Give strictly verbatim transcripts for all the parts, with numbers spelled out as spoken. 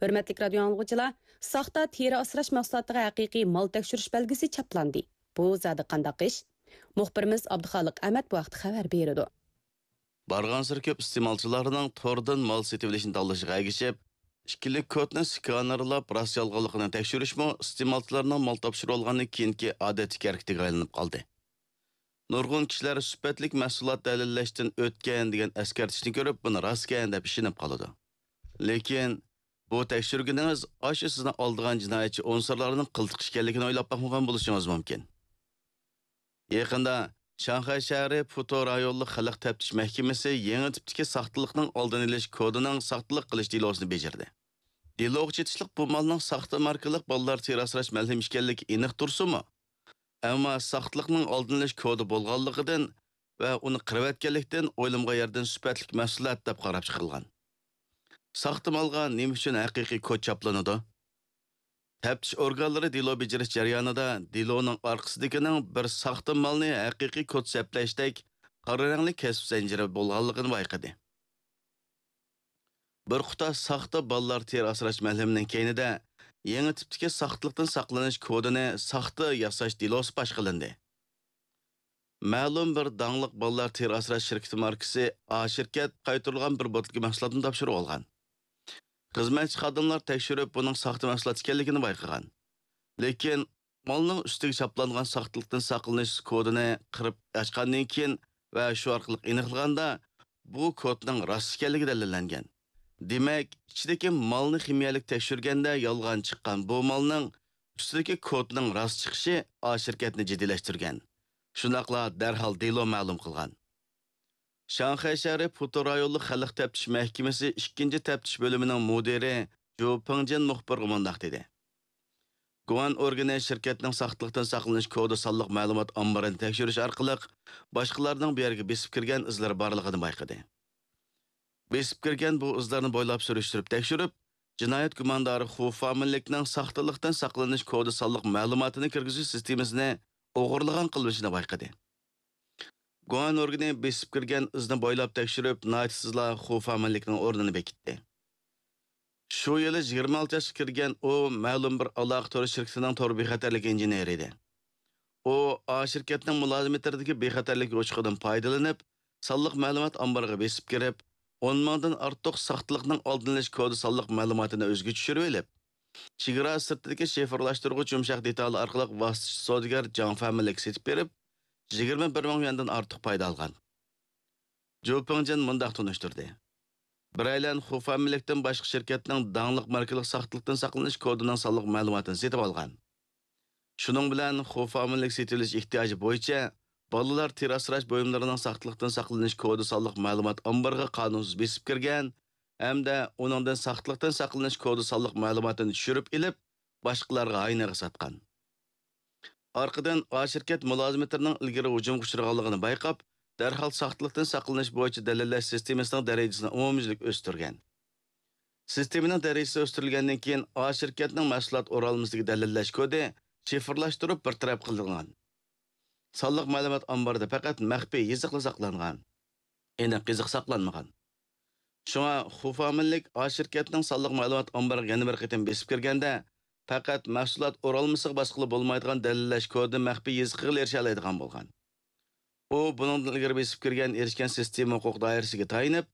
ھۆرمەتلىك رادىيو ئاڭلىغۇچىلار، ساختا تېرە ئاسراش مەھسۇلاتىغا ھەقىقىي مال تەكشۈرۈش بەلگىسى چاپلاندى. بۇ زادى قانداق ئىش؟ مۇخبىرىمىز ئابدۇخالىق ئەمەت بۇ ھەقتە خەۋەر بېرىدۇ. بارغانسېرى كۆپ ئىستېمالچىلارنىڭ توردىن مال سېتىۋېلىشنى تاللىشىغا ئەگىشىپ، ئىككىلىك كودنى سكانېرلاپ راست يالغانلىقىنى تەكشۈرۈشمۇ ئىستېمالچىلارنىڭ مال تاپشۇرۇۋالغاندىن كېيىنكى ئادەتتىكى ھەرىكىتىگە ئايلىنىپ قالدى. نۇرغۇن كىشىلەر سۈپەتلىك مەھسۇلات دەلىللەشتىن ئۆتكەن دېگەن ئەسكەرتىشنى كۆرۈپ، بۇنى راستكەن دەپ ئىشىنىپ قالىدۇ. لېكىن بۇ تەكشۈرگىنىڭىز ئاشۇ سىزنى ئالدىغان جىنايەتچى ئۇنسۇرلارنىڭ قىلتىقى ئىكەنلىكىنى ئويلاپ باقمىغان بولۇشىڭىز مۇمكىن. يېقىندا شاڭخەي شەھىرى پۇتو رايونلۇق خەلق تەپتىش مەھكىمىسى يېڭى تىپتىكى ساختىلىقنىڭ ئالدىنى ئېلىش كودىنىڭ ساختىلىق قىلىش دېلوسىنى بېجىردى. دېلوغا چېتىشلىق بۇ مالنىڭ ساختا ماركىلىق بالىلار تېرە ئاسراش مەلھىمى ئىكەنلىكى ئېنىق تۇرسىمۇ، ئەمما ساختىلىقنىڭ ئالدىنى ئېلىش كودى بولغانلىقىدىن ۋە ئۇنى قىرىۋەتكەنلىكتىن ئويلىمىغان يەردىن سۈپەتلىك مەھسۇلات دەپ قاراپ چىقىلغان. ساختا مالغا نېمە ئۈچۈن ھەقىقىي كود چاپلىنىدۇ؟ تەپتىش ئورگانلىرى دېلو بېجىرىش جەريانىدا دېلونىڭ ئارقىسىدىكىنىڭ بىر ساختا مالنى ھەقىقىي كود سەپلەشتەك قارا رەڭلىك كەسىپ زەنجىرى بولغانلىقىنى بايقىدى. بىر قۇتا ساختا بالىلار تېرە ئاسراش مەلھىمىنىڭ كەينىدە يېڭى تىپتىكى ساختىلىقتىن ساقلىنىش كودىنى ساختا ياساش دېلوسى پاش قىلىندى. مەلۇم بىر داڭلىق بالىلار تېرە ئاسراش شىركىتى ماركىسى ئا شىركەت قايتۇرۇلغان بىر بوتۇلكا مەھسۇلاتنى تاپشۇرۇۋالغان. خىزمەتچى خادىملار تەكشۈرۈپ، بۇنىڭ ساختا مەھسۇلات ئىكەنلىكىنى بايقىغان. لېكىن مالنىڭ ئۈستىگە چاپلانغان ساختىلىقتىن ساقلىنىش كودىنى قىرىپ ئاچقاندىن كېيىن ۋە شۇ ئارقىلىق ئېنىقلىغاندا، بۇ كودنىڭ راست ئىكەنلىكى دەلىللەنگەن. دېمەك، ئىچىدىكى مالنى خىمىيەلىك تەكشۈرگەندە يالغان چىققان بۇ مالنىڭ ئۈستىدىكى كودنىڭ راست چىقىشى ئا شىركەتنى جىددىيلەشتۈرگەن. شۇنداقلا دەرھال دېلو مەلۇم قىلغان. شاڭخەي شەھىرى پۇتو رايونلۇق خەلق تەپتىش مەھكىمىسى ئىككىنچى تەپتىش بۆلۈمىنىڭ مۇدىرى جۇ پىڭجىن مۇخبىرغا مۇنداق دېدى: گۇەن ئورگىنى شىركەتنىڭ ساختىلىقتىن ساقلىنىش كودى سانلىق مەلۇمات ئامبىرىنى تەكشۈرۈش ئارقىلىق باشقىلارنىڭ بۇ يەرگە بېسىپ كىرگەن ئىزلىرى بارلىقىنى بايقىدى. بېسىپ كىرگەن بۇ ئىزلارنى بويلاپ سۈرۈشتۈرۈپ تەكشۈرۈپ، جىنايەت گۇماندارى خۇ فامىلىكنىڭ ساختىلىقتىن ساقلىنىش كودى سانلىق مەلۇماتىنى كىرگۈزۈش سىستېمىسىنى ئوغرىلىغان قىلمىشىنى بايقىدى. گۇەن ئورگىنى بېسىپ كىرگەن ئىزنى بويلاپ تېكىشتۈرۈپ، ناھايىتى تېزلا خۇ فامىلىكنىڭ ئورنىنى بېكىتتى. شۇ يىلى يىگىرمە ئالتە ياشقا كىرگەن ئۇ مەلۇم بىر ئالاقە تور شىركىتىنىڭ تور بىخەتەرلىك ئىنژېنېرى ئىدى. ئۇ ئا شىركەتنىڭ مۇلازىمەتلىرىدىكى بىخەتەرلىك ئوچۇقىدىن پايدىلىنىپ، سانلىق مەلۇمات ئامبىرىغا بېسىپ كىرىپ، ئون مىڭدىن ئارتۇق ساختىلىقنىڭ ئالدىنى ئېلىش كودى سانلىق مەلۇماتىنى ئۆزىگە چۈشۈرۈۋېلىپ، چېگرا سىرتىدىكى شىفىرلاشتۇرغۇچ يۇمشاق دېتالى ئارقىلىق ۋاسىتىچى سودىگەر جاڭ فامىلىككە سېتىپ بېرىپ، يىگىرمە بىر مىڭ يۈەندىن ئارتۇق پايدا ئالغان. جۇ پىڭجىن مۇنداق تونۇشتۇردى: بىرەيلەن خۇ فامىلىكتىن باشقا شىركەتنىڭ داڭلىق ماركىلىق ساختىلىقتىن ساقلىنىش كودىنىڭ سانلىق مەلۇماتىنى سېتىپ ئالغان. شۇنىڭ بىلەن خۇ فامىلىك سېتىۋېلىش ئېھتىياجى بويىچە بالىلار تېرە ئاسراش بۇيۇملىرىنىڭ ساختىلىقتىن ساقلىنىش كودى سانلىق مەلۇمات ئامبىرىغا قانۇنسىز بېسىپ كىرگەن ھەمدە ئۇنىڭدىن ساختىلىقتىن ساقلىنىش كودى سانلىق مەلۇماتىنى چۈشۈرۈپ ئېلىپ، باشقىلارغا ھاينىغا ساتقان. ئارقىدىن ئا شىركەت مۇلازىمەتلىرىنىڭ ئىلگىرى ھۇجۇمغا ئۇچرىغانلىقىنى بايقاپ، دەرھال ساختىلىقتىن ساقلىنىش بويىچە دەلىللەش سىستېمىسىنىڭ دەرىجىسىنى ئومۇميۈزلۈك ئۆستۈرگەن. سىستېمىنىڭ دەرىجىسى ئۆستۈرۈلگەندىن كېيىن، ئا شىركەتنىڭ مەھسۇلات ئورالمىسىدىكى دەلىللەش كودى شىفىرلاشتۇرۇپ بىر تەرەپ قىلىنغان. سانلىق مەلۇمات ئامبىرىدا پەقەت مەخپىي يېزىقلا ساقلانغان. ئېنىق يېزىق ساقلانمىغان. شۇڭا خۇ فامىلىك ئا شىركەتنىڭ سانلىق مەلۇمات ئامبىرىغا يەنە بىر قېتىم بېسىپ كىرگەندە، پەقەت مەھسۇلات ئورالمىسىغا باسقىلى بولمايدىغان دەلىللەش كودى مەخپىي يېزىقىغىلا ئېرىشەلەيدىغان بولغان. ئۇ بۇنىڭدىن ئىلگىرى بېسىپ كىرگەن ئېرىشكەن سىستېما ھوقۇق دائىرىسىگە تايىنىپ،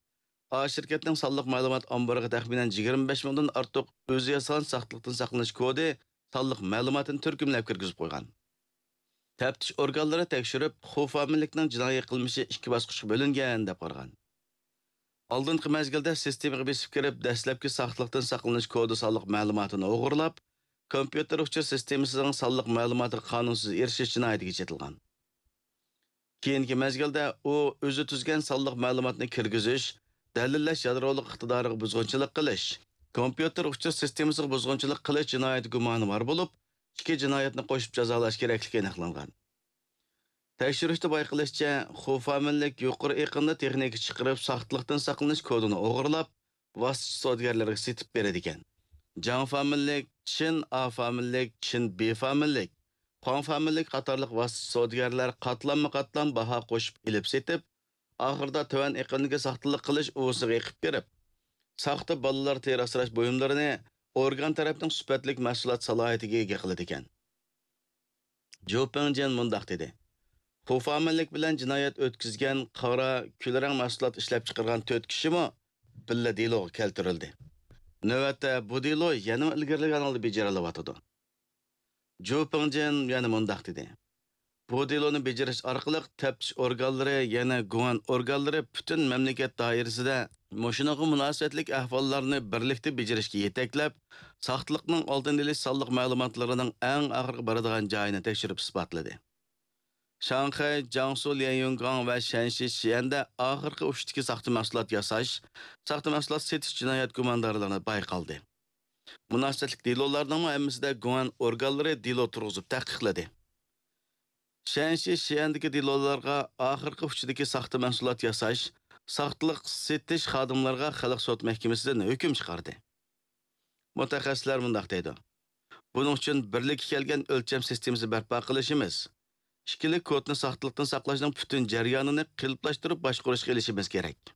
ئا شىركەتنىڭ سانلىق مەلۇمات ئامبىرىغا تەخمىنەن يىگىرمە بەش مىڭدىن ئارتۇق ئۆزى ياسىغان ساختىلىقتىن ساقلىنىش كودى سانلىق مەلۇماتىنى تۈركۈملەپ كىرگۈزۈپ قويغان. تەپتىش ئورگانلىرى تەكشۈرۈپ، خۇ فامىلىكنىڭ جىنايى قىلمىشى ئىككى باسقۇچقا بۆلۈنگەن دەپ قارىغان. ئالدىنقى مەزگىلدە سىستېمىغا بېسىپ كىرىپ، دەسلەپكى ساختىلىقتىن ساقلىنىش كودى سانلىق مەلۇماتىنى ئوغرىلاپ، كومپيۇتېر ئۇچۇر سىستېمىسىنىڭ سانلىق مەلۇماتىغا قانۇنسىز ئېرىشىش جىنايىتىگە چېتىلغان. كېيىنكى مەزگىلدە ئۇ ئۆزى تۈزگەن سانلىق مەلۇماتنى كىرگۈزۈش، دەلىللەش يادرولۇق ئىقتىدارىغا بۇزغۇنچىلىق قىلىش، كومپيۇتېر ئۇچۇر سىستېمىسىغا بۇزغۇنچىلىق قىلىش جىنايىتى گۇمانى بار بولۇپ، ئىككى جىنايەتنى قوشۇپ جازالاش كېرەكلىكى ئېنىقلانغان. تەكشۈرۈشتە بايقىلىشىچە، خۇ فامىلىك يۇقىرى ئېقىمدا تېخنىكا چىقىرىپ، ساختىلىقتىن ساقلىنىش كودىنى ئوغرىلاپ، ۋاسىتىچى سودىگەرلەرگە سېتىپ بېرىدىكەن. جاڭ فامىلىك، چىن ئا فامىلىك، چىن بى فامىلىك، خۇاڭ فامىلىك قاتارلىق ۋاسىتىچى سودىگەرلەر قاتلاممۇ قاتلام باھا قوشۇپ ئېلىپ سېتىپ، ئاخىرىدا تۆۋەن ئېقىمدىكى ساختىلىق قىلىش ئۇۋىسىغا ئېقىپ كىرىپ، ساختا بالىلار تېرە ئاسراش بۇيۇملىرىنى ئورگان تەرەپنىڭ سۈپەتلىك مەھسۇلات سالاھىيىتىگە ئىگە قىلىدىكەن. جۇ پىڭجىن مۇنداق دېدى: خۇفامەنلىك بىلەن جىنايەت ئۆتكۈزگەن قارا، كۈلرەڭ مەھسۇلات ئىشلەپچىقارغان تۆت كىشىمۇ بىللە دېلوغا كەلتۈرۈلدى. نۆۋەتتە بۇ دېلو يەنىمۇ ئىلگىرىلىگەن ھالدا بېجىرىلىۋاتىدۇ. جۇ پىڭجىن يەنە مۇنداق دېدى: بۇ دېلونى بېجىرىش ئارقىلىق تەپتىش ئورگانلىرى، يەنە گۇەن ئورگانلىرى پۈتۈن مەملىكەت دائىرىسىدە مۇشۇنىڭغا مۇناسىۋەتلىك ئەھۋاللارنى بىرلىكتە بېجىرىشكە يېتەكلەپ، ساختىلىقنىڭ ئالدىنى ئېلىش سانلىق مەلۇماتلىرىنىڭ ئەڭ ئاخىرقى بارىدىغان جايىنى تەكشۈرۈپ ئىسپاتلىدى. شاڭخەي، جياڭسۇ ليەنيۈنگاڭ ۋە شەنشى شيەندە ئاخىرقى ئۇچتىكى ساختا مەھسۇلات ياساش، ساختا مەھسۇلات سېتىش جىنايەت گۇماندارلىرى بايقالدى. مۇناسىۋەتلىك دېلولارنىڭمۇ ھەممىسىدە گۇەن ئورگانلىرى دېلو تۇرغۇزۇپ تەھقىقلىدى. شەنشى شيەندىكى دېلولارغا ئاخىرقى ئۇچىدىكى ساختا مەھسۇلات ياساش، ساختىلىق سېتىش خادىملىرىغا خەلق سوت مەھكىمىسىدىن ھۆكۈم چىقاردى. مۇتەخەسسىسلەر مۇنداق دەيدۇ: بۇنىڭ ئۈچۈن بىرلىككە كەلگەن ئۆلچەم سىستېمىسى بەرپا قىلىشىمىز، ئىككىلىك كودنى ساختىلىقتىن ساقلاشنىڭ پۈتۈن جەريانىنى قېلىپلاشتۇرۇپ باشقۇرۇشقا ئېلىشىمىز كېرەك.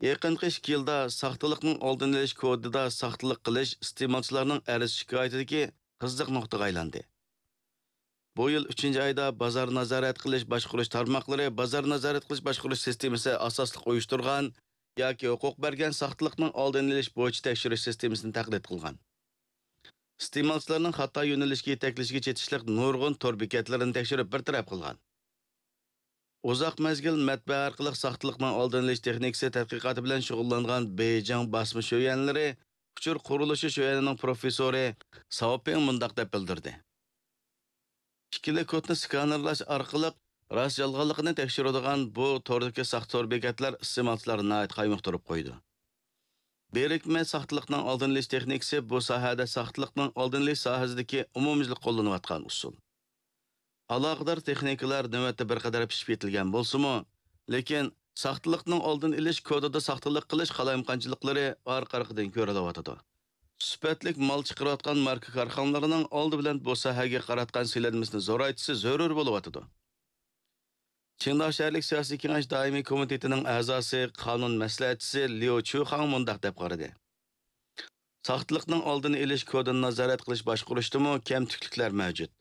يېقىنقى ئىككى يىلدا ساختىلىقنىڭ ئالدىنى ئېلىش كودىدا ساختىلىق قىلىش ئىستېمالچىلارنىڭ ئەرز-شىكايىتىدىكى قىزىق نۇقتىغا ئايلاندى. بۇ يىل ئۈچىنچى ئايدا بازار نازارەت قىلىش باشقۇرۇش تارماقلىرى بازار نازارەت قىلىش باشقۇرۇش سىستېمىسى ئاساسلىق ئۇيۇشتۇرغان ياكى ھوقۇق بەرگەن ساختىلىقنىڭ ئالدىنى ئېلىش بويىچە تەكشۈرۈش سىستېمىسىنى تەقلىد قىلغان. ئىستېمالچىلارنىڭ خاتا يۆنىلىشكە يېتەكلىشىگە چېتىشلىق نۇرغۇن تور بېكەتلىرىنى تەكشۈرۈپ بىر تەرەپ قىلغان. ئۇزاق مەزگىل مەتبەئە ئارقىلىق ساختىلىقنىڭ ئالدىنى ئېلىش تېخنىكىسى تەتقىقاتى بىلەن شۇغۇللانغان بېيجىڭ باسما شۆيۈەنلىرى ئۇچۇر قۇرۇلۇشى شۆيۈەنىنىڭ پروفېسسورى ساۋ پىڭ مۇنداق دەپ بىلدۈردى: ئىككىلىك كودنى سكانېرلاش ئارقىلىق راست-يالغانلىقىنى تەكشۈرىدىغان بۇ توردىكى ساختا تور بېكەتلەر ئىستېمالچىلارنى ناھايىتى قايمۇقتۇرۇپ قويىدۇ. بىرىكمە ساختىلىقنىڭ ئالدىنى ئېلىش تېخنىكىسى بۇ ساھەدە ساختىلىقنىڭ ئالدىنى ئېلىش ساھەسىدىكى ئومۇميۈزلۈك قوللىنىۋاتقان ئۇسۇل. ئالاقىدار تېخنىكىلار نۆۋەتتە بىر قەدەر پىشىپ يېتىلگەن بولسىمۇ، لېكىن ساختىلىقنىڭ ئالدىنى ئېلىش كودىدا ساختىلىق قىلىش قالايمىقانچىلىقلىرى ئارقا-ئارقىدىن كۆرۈلۈۋاتىدۇ. سۈپەتلىك مال چىقىرىۋاتقان ماركا كارخانىلىرىنىڭ ئالدى بىلەن بۇ ساھەگە قاراتقان سېلىنمىسىنى زورايتىشى زۆرۈر بولۇۋاتىدۇ. چىڭداۋ شەھەرلىك سىياسىي كېڭەش دائىمىي كومىتېتىنىڭ ئەزاسى، قانۇن مەسلىھەتچىسى ليۇ چۈخاڭ مۇنداق دەپ قارىدى: ساختىلىقنىڭ ئالدىنى ئېلىش كودىنى نازارەت قىلىش باشقۇرۇشتىمۇ كەمتۈكلۈكلەر مەۋجۇت.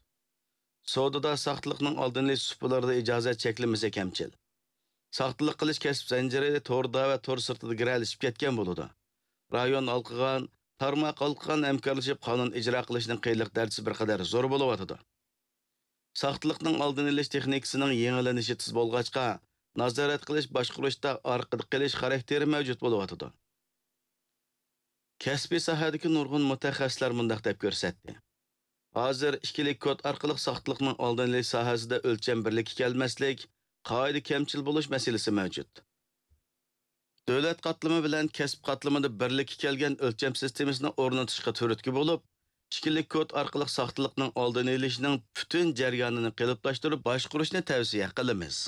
سودىدا ساختىلىقنىڭ ئالدىنى ئېلىش سۇپىلىرىدا ئىجازەت چەكلىمىسى كەمچىل. ساختىلىق قىلىش كەسىپ زەنجىرى توردا ۋە تور سىرتىدا گىرەلىشىپ كەتكەن بولىدۇ. رايون ھالقىغان، تارماق ھالقىغان ھەمكارلىشىپ قانۇن ئىجرا قىلىشنىڭ قىيىنلىق دەرىجىسى بىر قەدەر زور بولۇۋاتىدۇ. ساختىلىقنىڭ ئالدىنى ئېلىش تېخنىكىسىنىڭ يېڭىلىنىشى تېز بولغاچقا، نازارەت قىلىش باشقۇرۇشتا ئارقىدا قېلىش خاراكتېرى مەۋجۇت بولۇۋاتىدۇ. كەسپىي ساھەدىكى نۇرغۇن مۇتەخەسسىسلەر مۇنداق دەپ كۆرسەتتى: ھازىر ئىككىلىك كود ئارقىلىق ساختىلىقنىڭ ئالدىنى ئېلىش ساھەسىدە ئۆلچەم بىرلىككە كەلمەسلىك، قائىدە كەمچىل بولۇش مەسىلىسى مەۋجۇت. دۆلەت قاتلىمى بىلەن كەسىپ قاتلىمىدا بىرلىككە كەلگەن ئۆلچەم سىستېمىسىنى ئورنىتىشقا تۈرتكە بولۇپ، ئىككىلىك كود ئارقىلىق ساختىلىقنىڭ ئالدىنى ئېلىشنىڭ پۈتۈن جەريانىنى قېلىپلاشتۇرۇپ باشقۇرۇشنى تەۋسىيە قىلىمىز.